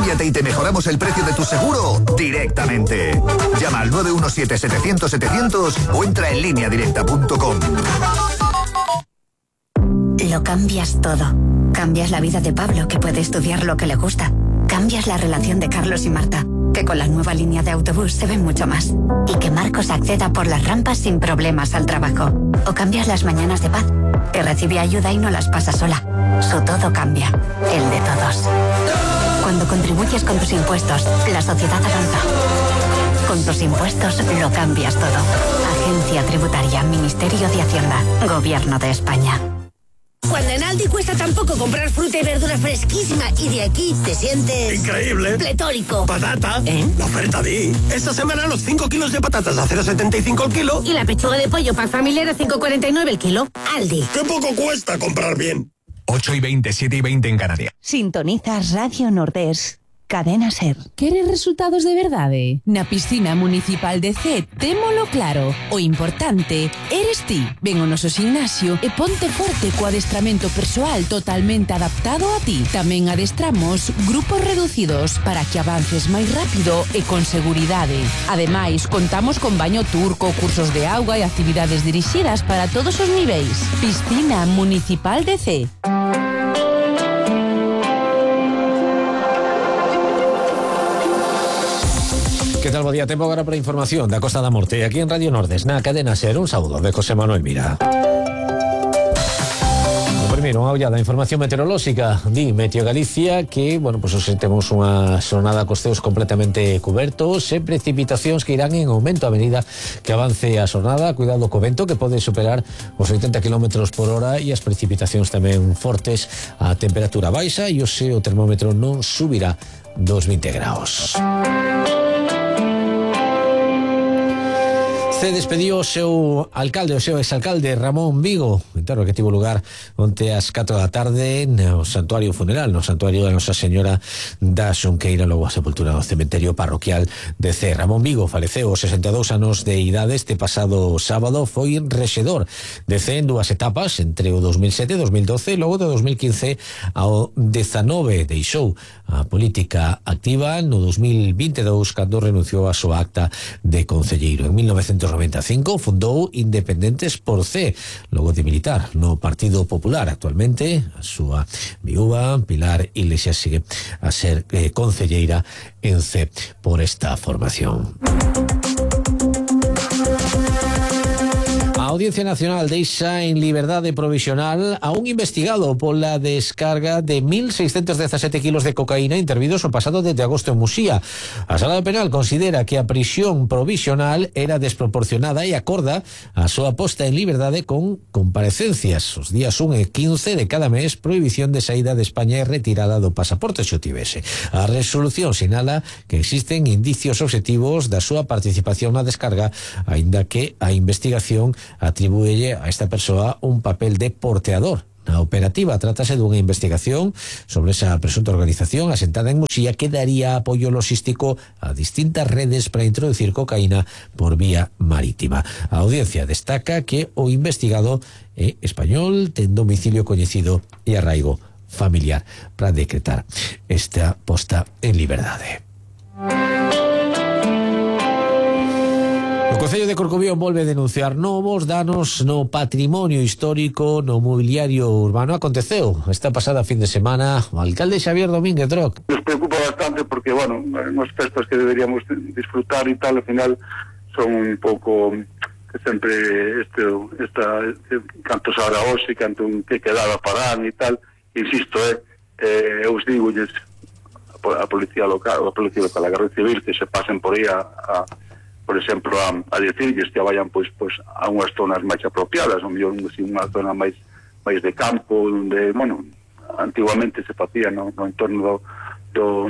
Cámbiate y te mejoramos el precio de tu seguro directamente. Llama al 917-700-700 o entra en lineadirecta.com. Lo cambias todo. Cambias la vida de Pablo, que puede estudiar lo que le gusta. Cambias la relación de Carlos y Marta, que con la nueva línea de autobús se ven mucho más. Y que Marcos acceda por las rampas sin problemas al trabajo. O cambias las mañanas de Paz, que recibe ayuda y no las pasa sola. Su todo cambia, el de todos. Cuando contribuyes con tus impuestos, la sociedad avanza. Con tus impuestos lo cambias todo. Agencia Tributaria, Ministerio de Hacienda, Gobierno de España. Cuando en Aldi cuesta tan poco comprar fruta y verdura fresquísima y de aquí te sientes... ¡increíble! ¡Pletórico! ¡Patata! La oferta di. Esta semana los 5 kilos de patatas a 0,75 el kilo. Y la pechuga de pollo para familiar a 5,49 el kilo. Aldi. ¡Qué poco cuesta comprar bien! 8:20, 7:20 en Canarias. Sintonizas Radio Nordés. Cadena Ser. Queres resultados de verdade? Na piscina municipal de C, témolo claro. O importante eres ti. Ven ao noso gimnasio e ponte forte co adestramento persoal totalmente adaptado a ti. Tamén adestramos grupos reducidos para que avances máis rápido e con seguridade. Ademais, contamos con baño turco, cursos de auga e actividades dirixidas para todos os niveis. Piscina municipal de C. Que tal, bo día? Tempo agora para información da Costa da Morte aquí en Radio Nordes, na Cadena Ser. Un saúdo de José Manuel Mira. Primeiro, unha ollada da información meteorolóxica. Di Meteo Galicia que, bueno, pues hoxe temos unha xornada cos ceos completamente cubertos e precipitacións que irán en aumento a medida que avance a xornada. Cuidado co vento, que pode superar os 80 km por hora, e as precipitacións tamén fortes. A temperatura baixa e hoxe o termómetro non subirá dos 20 graus. Se despediu o seu alcalde, o seu exalcalde Ramón Vigo, entero que tivo lugar onte ás 4 da tarde no santuario funeral, no santuario da Nosa Señora da Xunqueira, logo a sepultura no cementerio parroquial de C. Ramón Vigo faleceu aos 62 anos de idade este pasado sábado. Foi rexedor de C en dúas etapas, entre o 2007 e 2012, logo de 2015 ao 19 deixou a política activa no 2022 cando renunciou a súa acta de concelleiro. En 1995 fundou Independentes por C, logo de militar no Partido Popular. Actualmente a súa viúva Pilar Iglesias sigue a ser concelleira en C por esta formación. A Audiencia Nacional deixa en liberdade provisional a un investigado pola descarga de 1.617 kilos de cocaína intervidos o pasado desde agosto en Muxía. A Sala Penal considera que a prisión provisional era desproporcionada e acorda a súa posta en liberdade con comparecencias os días 1 e 15 de cada mes, prohibición de saída de España e retirada do pasaporte se o tivese. A resolución sinala que existen indicios objetivos da súa participación na descarga, aínda que a investigación atribúelle a esta persoa un papel de porteador. Na operativa trátase dunha investigación sobre esa presunta organización asentada en Muxía que daría apoio logístico a distintas redes para introducir cocaína por vía marítima. A audiencia destaca que o investigado é español, ten domicilio coñecido e arraigo familiar para decretar esta posta en liberdade. O Concello de Corcobión volve a denunciar novos danos no patrimonio histórico no mobiliario urbano. Aconteceu esta pasada fin de semana o alcalde Xavier Domínguez Droc. Nos preocupa bastante porque, bueno, unas festas que deberíamos disfrutar y tal, al final son un pouco que sempre canto se ahora hoxe, canto que quedaba parán e tal. Insisto, eu os digo a policía local, a Garda Civil, que se pasen por aí por exemplo, a decirlles que vayan pois a unhas zonas máis apropiadas, ou mellor unha zona máis de campo, onde, bueno, antiguamente se facía no entorno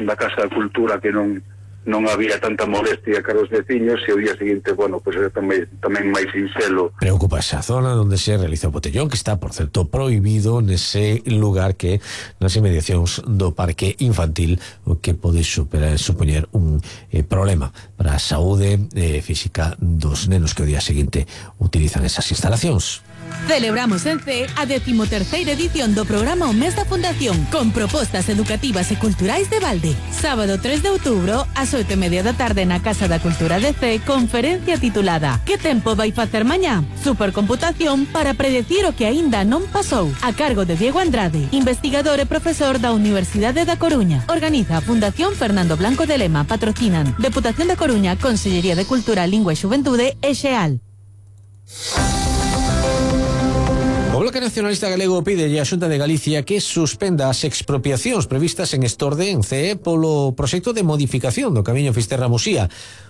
da Casa da Cultura, que non había tanta molestia cara os veciños, e o día seguinte, bueno, pois era tamén máis sinxelo. Preocupa esa zona onde se realiza o botellón, que está, por certo, prohibido nese lugar que nas inmediacións do parque infantil, o que pode supoñer un problema para a saúde física dos nenos que o día seguinte utilizan esas instalacións. Celebramos en CEE a 13ª edición do programa O Mes da Fundación con propostas educativas e culturais de balde. Sábado 3 de outubro, ás 8:30 da tarde na Casa da Cultura de CEE, conferencia titulada Que tempo vai facer mañá? Supercomputación para predecir o que aínda non pasou. A cargo de Diego Andrade, investigador e profesor da Universidade da Coruña. Organiza a Fundación Fernando Blanco de Lema. Patrocinan Deputación da Coruña, Consellería de Cultura, Lingua e Xuventude e XEAL. O Bloque Nacionalista Galego pide a Xunta de Galicia que suspenda as expropiacións previstas en Estorde, en CEE, polo proxecto de modificación do Camiño Fisterra-Musía.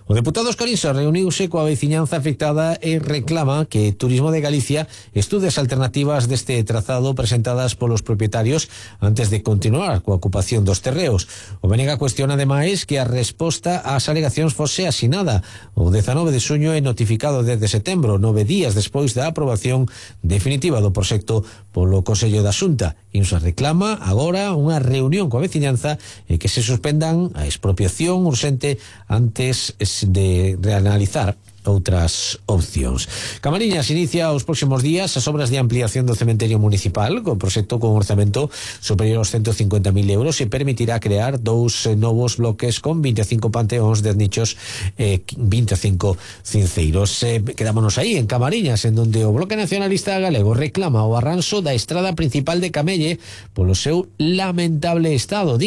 O deputado Oscarinsa reuniuse coa veciñanza afectada e reclama que Turismo de Galicia estude as alternativas deste trazado presentadas polos propietarios antes de continuar coa ocupación dos terreos. O Benega cuestiona ademais que a resposta ás alegacións fose asinada o 19 de xuño e notificado desde setembro, 9 días despois da aprobación definitiva do proxecto polo Consello da Xunta. Insa reclama agora unha reunión coa veciñanza e que se suspendan a expropiación urxente antes de reanalizar outras opcións. Camariñas inicia os próximos días as obras de ampliación do cementerio municipal con proxecto con orzamento superior aos 150.000 euros e permitirá crear 2 novos bloques con 25 panteóns, 10 nichos e 25 cinceiros. Quedámonos aí en Camariñas, en donde o Bloque Nacionalista Galego reclama o arranxo da estrada principal de Camelle polo seu lamentable estado.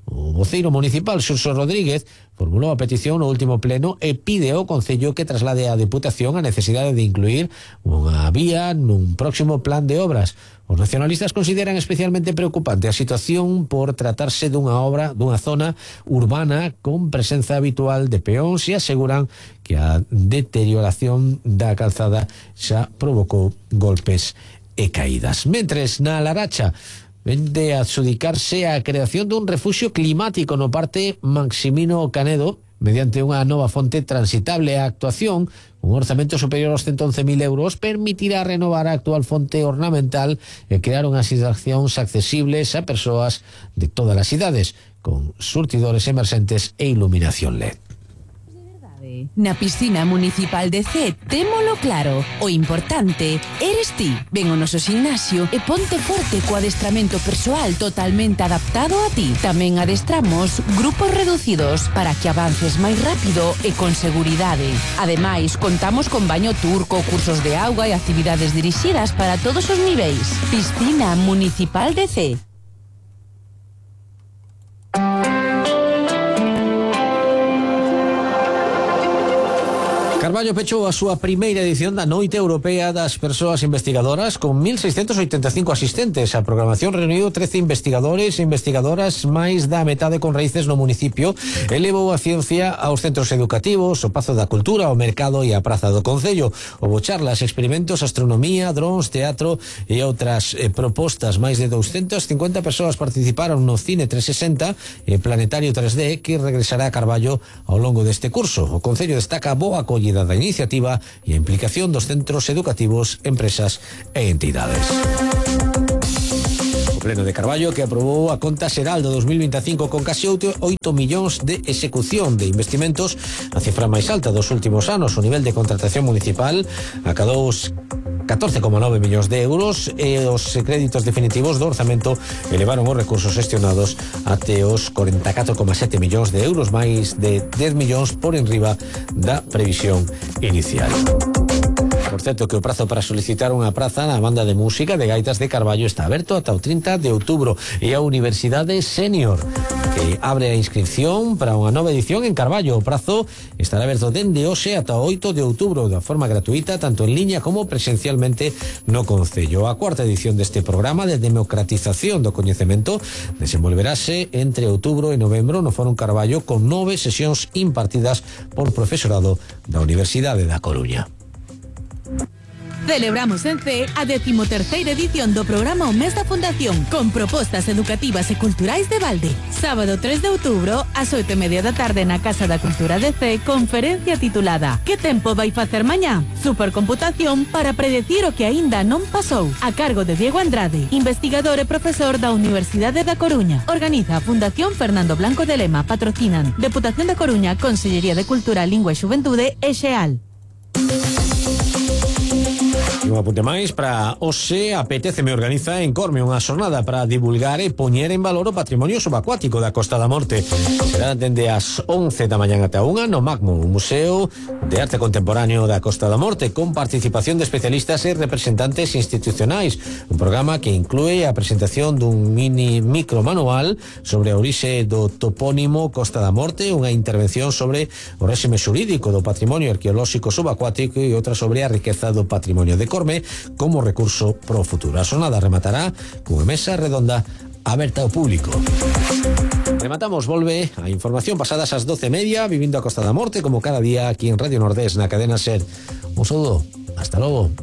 O voceiro municipal, Xurxo Rodríguez, formulou a petición no último pleno e pide ao Concello que traslade á Deputación a necesidade de incluir unha vía nun próximo plan de obras. Os nacionalistas consideran especialmente preocupante a situación por tratarse dunha obra dunha zona urbana con presenza habitual de peóns e aseguran que a deterioración da calzada xa provocou golpes e caídas. Mentres, na Laracha, de adxudicarse a creación dun refuxio climático no Parque Maximino Canedo mediante unha nova fonte transitable. A actuación, un orzamento superior aos 111.000 euros, permitirá renovar a actual fonte ornamental e crear unhas instalacións accesibles a persoas de todas as idades, con surtidores emerxentes e iluminación LED. Na piscina municipal de CEE témolo claro, o importante eres ti. Ven ao noso gimnasio e ponte forte co adestramento persoal totalmente adaptado a ti. Tamén adestramos grupos reducidos para que avances máis rápido e con seguridade. Ademais, contamos con baño turco, cursos de auga e actividades dirixidas para todos os niveis. Piscina municipal de CEE. Carballo pechou a súa primeira edición da Noite Europea das Persoas Investigadoras con 1.685 asistentes. A programación reuniu 13 investigadores e investigadoras, máis da metade con raíces no municipio, e levou a ciencia aos centros educativos, o Pazo da Cultura, o Mercado e a Praza do Concello. Houbo charlas, experimentos, astronomía, drons, teatro e outras propostas. Máis de 250 persoas participaron no Cine 360 e Planetario 3D, que regresará a Carballo ao longo deste curso. O Concello destaca a boa acollida da iniciativa e a implicación dos centros educativos, empresas e entidades. O Pleno de Carballo, que aprobou a conta xeral do 2025 con casi 8 millóns de execución de investimentos, a cifra máis alta dos últimos anos. O nivel de contratación municipal acadou os 14,9 millóns de euros e os créditos definitivos do orzamento elevaron os recursos gestionados até os 44,7 millóns de euros, máis de 10 millóns por enriba da previsión inicial. Por certo, que o prazo para solicitar unha praza na banda de música de gaitas de Carballo está aberto ata o 30 de outubro e a Universidade Senior, que abre a inscripción para unha nova edición en Carballo. O prazo estará aberto dende hoxe ata o 8 de outubro, da forma gratuita, tanto en liña como presencialmente no Concello. A cuarta edición deste programa de democratización do coñecemento desenvolverase entre outubro e novembro no Fórum Carballo con 9 sesións impartidas por profesorado da Universidade da Coruña. Celebramos en CEE a 13ª edición do programa O Mes da Fundación con propostas educativas e culturais de balde. Sábado 3 de outubro, ás 8:30 da tarde na Casa da Cultura de CEE, conferencia titulada Que tempo vai facer mañá? Supercomputación para predecir o que aínda non pasou. A cargo de Diego Andrade, investigador e profesor da Universidade da Coruña. Organiza a Fundación Fernando Blanco de Lema. Patrocinan Deputación da Coruña, Consellería de Cultura, Lingua e Xuventude e XEAL. E un apunte máis para hoxe Apetece me organiza en Corme unha xornada para divulgar e poñer en valor o patrimonio subacuático da Costa da Morte. Será dende as 11 da mañá ata 1 no Magmo, un museo de arte contemporáneo da Costa da Morte con participación de especialistas e representantes institucionais. Un programa que inclúe a presentación dun micro manual sobre a orixe do topónimo Costa da Morte, unha intervención sobre o réxime xurídico do patrimonio arqueolóxico subacuático e outra sobre a riqueza do patrimonio de Corme como recurso pro futuro. A xornada rematará cunha mesa redonda aberta ao público. Rematamos, volve a información pasadas as 12:30, vivindo a Costa da Morte como cada día aquí en Radio Nordés na cadena SER. Un saludo, hasta logo.